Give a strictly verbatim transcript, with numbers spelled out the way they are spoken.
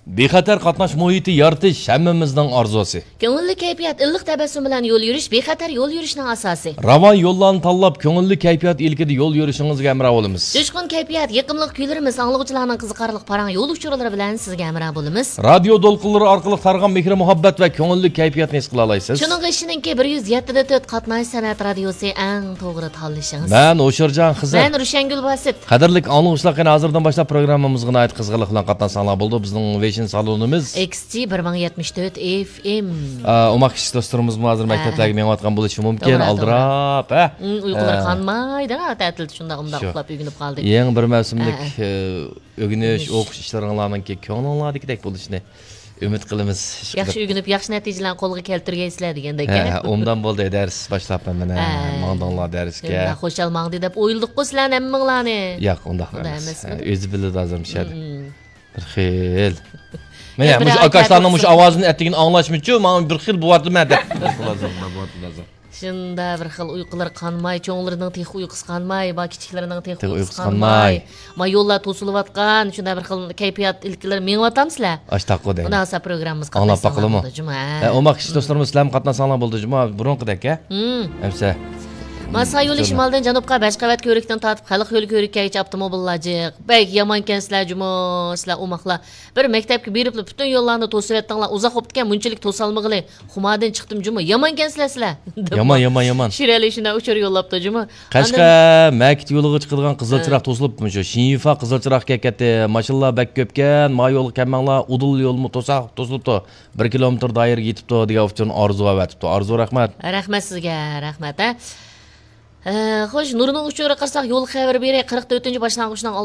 بىخەتەر قاتناش مۇھىتى يارىتىش ھەممىمىزنىڭ ئارزۇسى. كۆڭۈللۈك كەيپىيات، ئىللىق تەبەسسۇم بىلەن يول يۈرۈش بىخەتەر يول يۈرۈشنىڭ ئاساسى. راۋان يوللارنى تاللاپ، كۆڭۈللۈك كەيپىيات ئىلكىدە يول يۈرۈشىڭىزگە ھەمراھ بولىمىز. جۇشقۇن كەيپىيات، يېقىملىق كۈيلىرىمىز، ئاڭلىغۇچىلارنىڭ قىزىقارلىق پاراڭ يول ئۇچۇرلىرى بىلەن سىزگە ھەمراھ بولىمىز. رادىيو دولقۇنلىرى ئارقىلىق تارىغان مېھرى مۇھەببەت ۋە كۆڭۈللۈك كەيپىياتنى ھېس قىلالايسىز. شۇنىڭغا ئىشىنىڭكى، بىر يۈز يەتتە دە تۆت قاتناش سەنئەت رادىيوسى ئەڭ توغرا تاللىشىڭىز. مەن ھوشۇرجان خىزىر. مەن روشەنگۈل باسىت. قەدىرلىك ئاڭلىغۇچىلار، قېنى ھازىردىن باشلاپ پروگراممىمىزغا ناھايىتى قىزغىنلىق بىلەن قاتناشساڭلار بولىدۇ. بىزنىڭ ۋېشىن سالونىمىز. ئېكس جى بىر مىڭ يەتمىش تۆت ئېف ئېم. ئا، ئوماق كىچىك دوستلىرىمىزمۇ ھازىر ھە. مەكتەپلەرگە مېڭىۋاتقان بولۇشى مۇمكىن، توغرا، توغرا. ئالدىراپ، ھە؟ ئۇم، ئۇيقۇلىرى ھە. قانمايدۇ، ھە، تەتىلدە شۇنداق ئۇمداق شۇ. ئۇخلاپ ئۆگىنىپ قالدى. يېڭى بىر مەۋسۇملۇك، ھە، ھە. ئە، ئۆگىنىش، ئۆگىنىش. ئوقۇش ئىشلىرىڭلارنىڭكى كۆڭلۈڭلاردىكىدەك بولۇشىنى ئۈمىد قىلىمىز. ياخشى ئۆگىنىپ، ياخشى نەتىجىلەرنى قولغا كەلتۈرگەيسىلەر دېگەندەك، ھە، ھە؟ ئوبدان بولدى، دەرس باشلاپمەن مانا. ھە. ماڭدىڭلار دەرسكە. شۇنداق خۇشال ماڭدى دەپ ئويلىدۇققۇ سىلەرنى ھەممىڭلارنى. ياق، ئۇنداق ئۇنداق ئەمەس. ئەمەسمىدى؟ ھە، ئۆزى بىلىدۇ ھازىر مۇشۇ يەردە. مم. بىر خىل. مانا، يا، مۇشۇ بىر ئاكاشلارنىڭ مۇشۇ ئاۋازىنى ئەتىگىنى ئاڭلاشمىچۇ، ماڭا بىر خىل بوۋاتىمەن دەپ. شۇنداق بىر خىل ئۇيقۇلىرى قانماي، چوڭلىرىنىڭ تېخى ئۇيقۇسى قانماي، با كىچىكلىرىنىڭ تېخى تېخى ئۇيقۇسى ئۇيقۇسى قانماي. قانماي. ما يوللار توسۇلۇۋاتقان، شۇنداق بىر خىل كەيپىيات ئىلكىلىرى مېڭىۋاتامسىلەر؟ ئاشتاققۇ دەيمەن. ئۇنداق بولسا پروگراممىمىزغا ئاڭلاپ قاتناشساڭلار باقىلىمۇ؟ بولىدۇ جۇمۇ، ھە. ھە، ئوماق كىچىك دوستلىرىمىز، سىلەرمۇ قاتناشساڭلار بولىدۇ جۇمۇ، بۇرۇنقىدەك، ھە؟ ھىم. ئەمسە. ما ساي يولى شىمالدىن جەنۇبقا بەشقەۋەت كۆۋرۈكتىن تارتىپ خەلق يولى كۆۋرۈكىگىچە ئاپتوموبىللار جىق. بەك يامانكەنسىلەر جۇمۇ، سىلەر ئوماقلار. بىر مەكتەپكە بېرىپلا پۈتۈن يوللارنى توسۇۋەتتىڭلار، ئۇزاق بوپتىكەن، مۇنچىلىك توسالمىغىلى. خۇماردىن چىقتىم جۇمۇ، يامانكەنسىلەر سىلەر. دەپ يامان، يامان، يامان. شىرئەلى شۇنداق ئۇچۇر يوللاپتۇ جۇمۇ. قەشقەر ئاندىن مەكىت يولىغا چىقىدىغان قىزىل ھە. چىراغ توسۇلۇپتۇ، شۇ شىنيۈفا قىزىل چىراغ كەتكەتتى. ماشىنىلار بەك كۆپكەن، ما يولغا كەلمەڭلار، ئۇدۇل يولمۇ توساق توسۇلۇپتۇ. بىر كىلومېتىر دائىرىگە يېتىپتۇ دېگەن ئۇچۇرنى ئارزۇ ئەۋەتىپتۇ. ئارزۇ، رەھمەت. رەھمەت سىزگە، رەھمەت، ھە. ئە، خوش، نۇرنىڭ ئۇچۇرىغا قارىساق، يول خەۋىرى بېرى قىرىق تۆتىنچى باشلانغۇچنىڭ